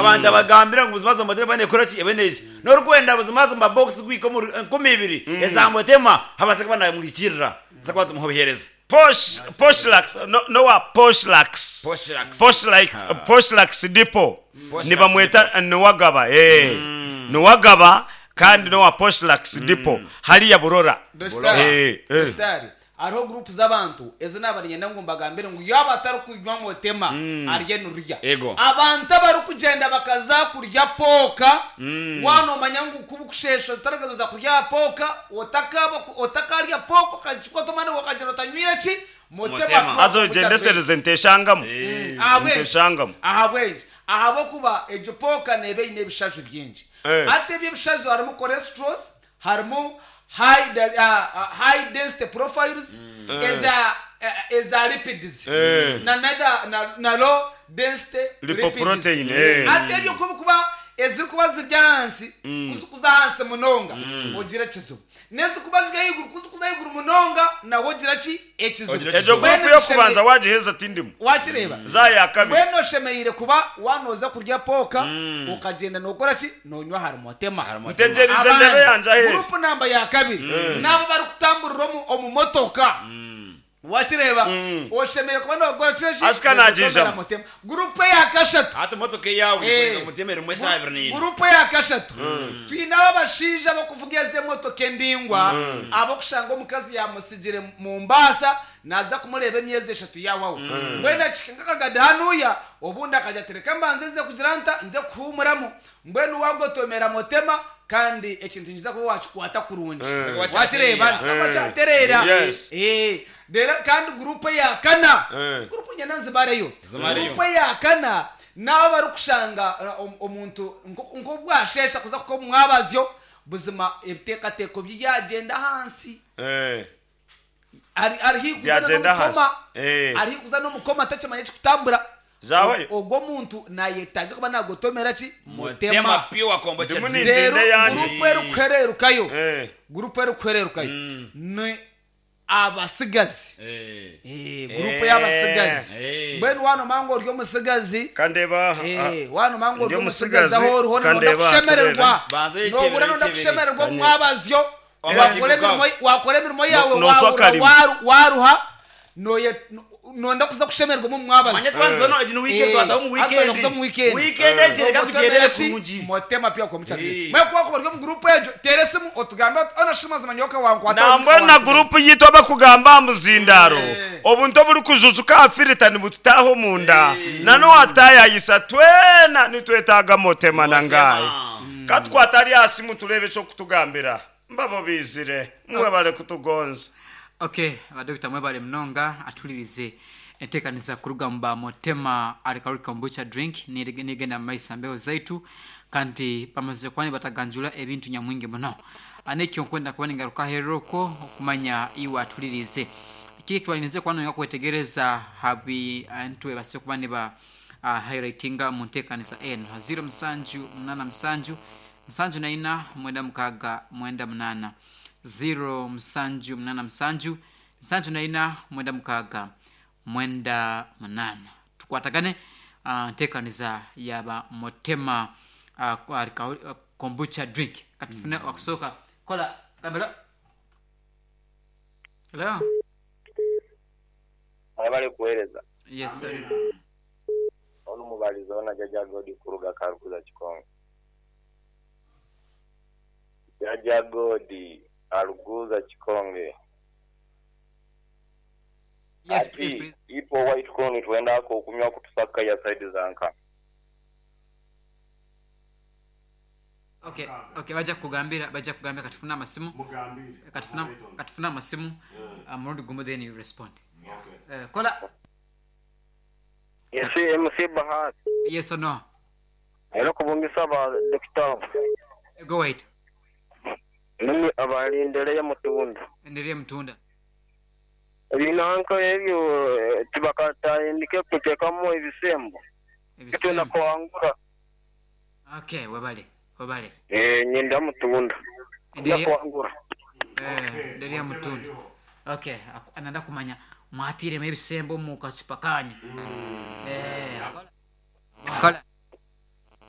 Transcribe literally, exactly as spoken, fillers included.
Abantu abagambira ngu buzimazima Motema eba neekora ki, ebe neeki. N'orikwenda buzimazima box kuhika omu enkumi ibiri eza Motema abaase kuba naamuhikiirira, tubaase kuba nitumuha obuheereza. Posh Poshlax no n'owa Poshlax Poshlax. Poshlax Poshlax Depot Poshlax nibamweta Niwagaba eeh Niwagaba kandi n'owa Poshlax Depot hariya Burora Dositari, eeh eh. Dositari, hariho guruupu z'abantu ezi naaba niinyenda ngu mbagambire ngu yaaba atarikunywa Motema arye nirurya. Ego. Abantu abarikugyenda bakaza kurya pooka, waaba noomanya ngu ku bukusheesha otarikuza kuza kurya aha pooka, otakaaba otakarya pooka okagikwata omwanya ogwo okagyenda otanywire ki? Motema Motema. pure Haza kombucha drink. ogyendesereze nteshangamu Ahabw'enki? nteshangamu. Ahabw'enki? Ahabw'okuba egyo pooka neeba eine ebishaju bingi. Eh. Hati ebyo ebishaju harimu cholesterols, harimu high de- ah, ah, high density profiles eza eh, eza lipids Eh. na nada na, na low density Lipoprotein, lipids. eh. Hati ebyo ku bikuba ezirikuba ziri ahansi kuzikuza ahansi munonga ogira ekizibu n'ezikuba ziri ahaiguru kuzikuza ahaiguru munonga nawe ogira ki ekizibu. Ogira Egyo ekizibu. gurupu Mbwenu y'okubanza tushemere- wagiheza tindimu. wakireeba Za ya kabiri. Mbwenu oshemereire kuba waanoza kurya pooka okagyenda nookora ki noonywa ahari Motema. Ntegyereize ndebe yangye aheeru. Gurupu namba ya kabiri n'abo abarikutamburira omu omu motoka wakireeba oshemereire kuba nookora ki eki Asika nagiijamu. Motema. Gurupu eya kashatu Hati emotoka eyaawe Eh. eri Motema erimu eshaaha ibiri na ina. Gurupu eya kashatu twine abo abashaija abarikuvuga ezi emotoka endaingwa ab'okushanga omukazi yaamusigire Mombasa naaza kumureeba emyezi eshatu yaawaho mbwenu akihika nk'akagada hanuya obundi akagira ati reka mbanze nze kugira nta nze kuhuumuramu mbwenu waagotomera Motema kandi ekintu nikiza kuba waakikwata kurungi wakireeba nikiza kuba kyatereera. Yes. Eh, reero kandi gurupu eya kana Eh. gurupu nyena nzibareyo Zimareyo. gurupu eya kana n'abo abarikushanga uh, om- omuntu nko- nk'obwasheesha kuza kuka omu mwabazyo buzima ebiteekateeko bye byagyenda ahansi Eh. ari ari haihi kuza Byagyenda n'omukoma ahansi. Eh. ari haihi kuza n'omukoma takimanya ekikutambura Zaawayo. ogwo omuntu nayetaaga kuba nagotomera ki Motema Motema pure kombucha Ndimu drink. ni- reero Ndende yangye. gurupu erikuhereerukayo Eh. gurupu erikuhereerukayo ni abasigazi Eh. Eh, gurupu y'abasigazi Eh. mbwenu wanomanya ngu ori omusigazi Kandeba aha. Eh, wanomanya ngu ori Ndi omusigazi omusigazi, aho oriho nonda kandeba aha kushemererwa Banza ekyebere, nobura nonda ekyebere. kushemererwa omu mwabazyo Oba wakora kibuga. emirimo wakora emirimo yawe No- noswa wahurira karimu. waru- waruha noye nonda kuza kushemererwa omu mwabazyo Manya twanza no egi ni weekend Eh, twataho omu hati weekend. twataho omu weekend. Weekend egi reka kugyendere ki kurungi. Motema pure kombucha Eh. mwe kuba ori omu gurupu egyo teera esimu otugambe oti ona shi mazima nyowe okawankwata Nambwenu na gurupu yitu abakugamba aha muzindaaro obuntu oburikujujuka aha firita nibututaaha omunda na n'owataayayisa twena nitwetaaga Motema na ngaayi. Katukwate ari aha simu tureebe eky'okutugambira. Mbabo biizire mwebare kutugonza. Okay, badokita mwebale munonga atulirize enteekaniza kuruga mu ba Motema Alcoholic Kombucha Drink nige- nigenda mu maiso mbeho zaitu kandi bamazire kuba nibataganjura ebintu nyamwingi muno. Anekyo nkwenda kuba ningaruka aheeru okwo okumanya iwe atulirize kiki kibalinize kuba noyenda kwetegereza habi antu ebase kuba niba uh, highlightinga mu nteekaniza eno ziro musanju munana musanju nsanju na ina mwenda mukaaga mwenda munana ziro musanju munana musanju nsanju na ina mwenda mukaaga mwenda munana tukwatagane uh, nteekaniza yaba Motema uh, uh, kombucha drink katufune mm. wakusooka kola gambira hello Mwebale kuweereza. yes sir. Onu mubalizi ona Jaja Godi kuruga Karuguza Kikongo. Jaja Godi Aruguza Kikonge. yes Ati, please please ipo White Crown twendako okunywa kutusaka ya side zanka. okay okay bajja kukugambira bajja kukugambira katufune amasimu katufune katufune amasimu uh, murundi gumu then you respond uh, kola Yes, M C Bahati. yes or no Era kubungisa ba Doctor go wait Mimi abalindeleye mutunda. enderea mutunda Ebinanka ebyo eh, tibakatandike kuteekamu ebisembo. Kitwenda ebisembo kuwangura. okay webale webale Eh, nyenda mutunda. Nda enderea kuwangura. eh, enderea mutunda okay aku- ananda kumanya mwatiremu ebisembo mu kacupa kanyu eh kola kola